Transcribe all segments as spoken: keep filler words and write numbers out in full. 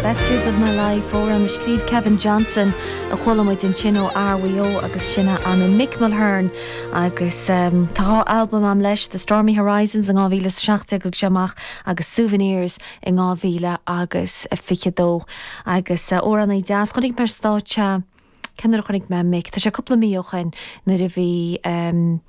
Best Years of My Life amhrán a scríobh Kevin Johnson a chuala muid ansin ó RWO agus sin an Mick Mulhern agus um, tá albam agam leis The Stormy Horizons an dhá mhíle seacht go amach agus Souvenirs in dhá mhíle agus fiche dó agus uh, amhránaí deas chonaic mé stáitse cén uair a chonaic mé Mick Tá sé cúpla mí ó shin nuair a bhí um,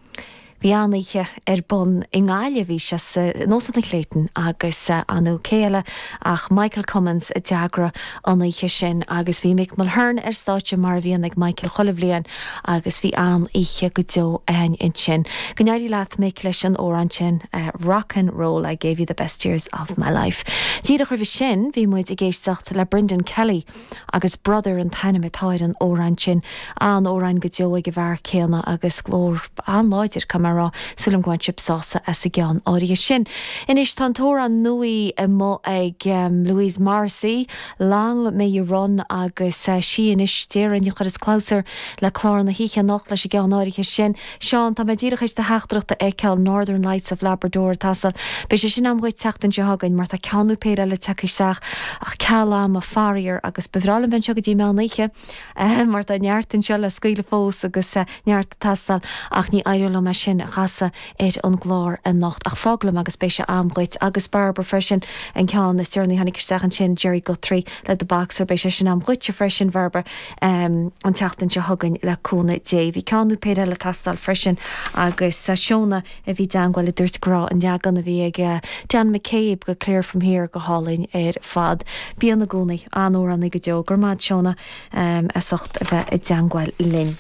Bhí an-oíche ar bun i nGaillimh bhí sé in Óstán an Clayton agus anú céile ach Michael Cummins a d'eagraigh an oíche sin agus bhí Mick Mulhern ar stáitse mar a bhíonn ag Michael chuile bhliain agus bhí an-oíche go deo againn ansin. Go n-éirí leat Mick leis an amhrán sin uh, rock and roll I gave you the best years of my life. Díreach roimhe sin bhí muid ag éisteacht le Brendan Kelly agus brother an t-ainm atá ar an amhrán sin an amhrán go deo ag an bhfear céanna agus glór an-láidir come rá súil go bhfuil sibh sásta as an gceann áirithe sin. Anois tá amhrán nua amuigh ag um, Louise Morrissey, Long May You Run agus uh, sí anois deireadh a chur is clabhsúr le clár na hoíche anocht leis an gceann áirithe sin. Seán tá mé díreach do theachtaireacht a fheiceáil Northern Lights of Labrador tasal. Beidh sé sin agam dhuit an tseachtain seo chugainn mar tá ceann nó péire le teacht isteach ach ceal ama faraor agus b'fhearr liom bheith anseo go dtí meán oíche eh, mar tá neart anseo le scaoileadh fós agus uh, neart tasal ach ní éireoidh liom é sin a chasadh ar an gclár anocht ach fáglam agus beidh sé agam dhuit agus Barbara freisin an ceann is deireanaí a tháinig isteach ansin Jerry Guthrie le The Boxer beidh sé sin agam dhuit freisin Barbara um, an tseachtain seo chugainn le cúnamh Dé. Bhí ceann nó péire le teastáil freisin agus sa Seona a bhí i dteagmháil a dúirt go raibh an leagan a bhí ag uh, Dan McCabe go Clear from Here go hálainn ar fad. Bíon na gúnaí an-amhránaí go deo gur maith Seona um, as ucht a bheith i dteagmháil linn.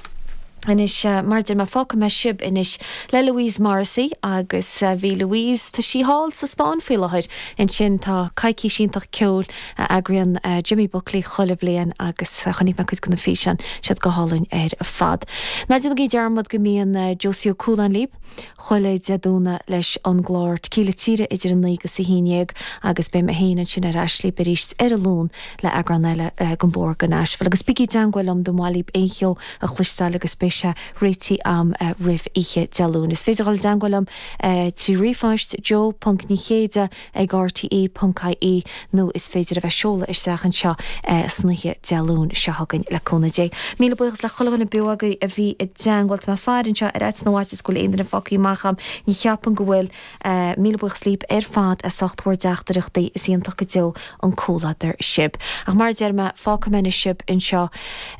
Anois uh, mar deir mé fágfaidh mé sibh anois le Louise Morrissey agus uh, bhí Louise tá sí thall sa Spáinn faoi láthair ansin tá coicís iontach ceoil uh, eagraíonn uh, Jimmy Buckley chuile bhliain agus uh, chonaic mé cuid de na físeáin siad go hálainn ar fad. Ná déanaigí dearmad go mbíonn uh, Josie Ó Cualáin libh chuile Dé Domhnaigh leis an gclár Tequila Tíre idir an naoi agus a haon déag agus beidh mé féin ansin ar ais libh arís ar an Luan le eagrán eile uh, den Bóthar go Nashville agus bígí i dteagmháil liom dá mba mhaith libh aon cheol a chloisteáil agus beidh sé réitithe agam uh, roimh oíche Dé Luain. Is féidir dul i dteagmháil liom uh, trí ríomhphost joe.níchéide ag rte.ie nó is féidir a bheith seoladh isteach anseo uh, san oíche Dé Luain seo chugainn le cúnamh Dé. Míle buíochas le chuile dhuine beo agaibh a bhí i dteagmháil tá mé ag faire anseo ar ait nó is go bhfuil aon duine fágtha amach agam ní cheapaim go bhfuil uh, míle buíochas libh ar fad as ucht bhur dteachtaireachtaí is iontach go deo an comhluadar sibh. Ach mar deir mé fágfaidh mé sibh anseo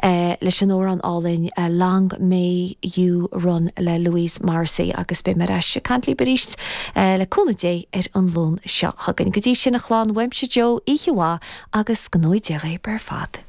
uh, leis an amhrán álainn uh, Long May You Run le Louise Morrissey agus beidh mé ar ais ag caint libh arís uh, le cúnamh Dé ar an Luan seo chugainn. Go dtí sin a chlann uaimse Joe oíche mhaith agus go ngnóthaí Dia ar fad.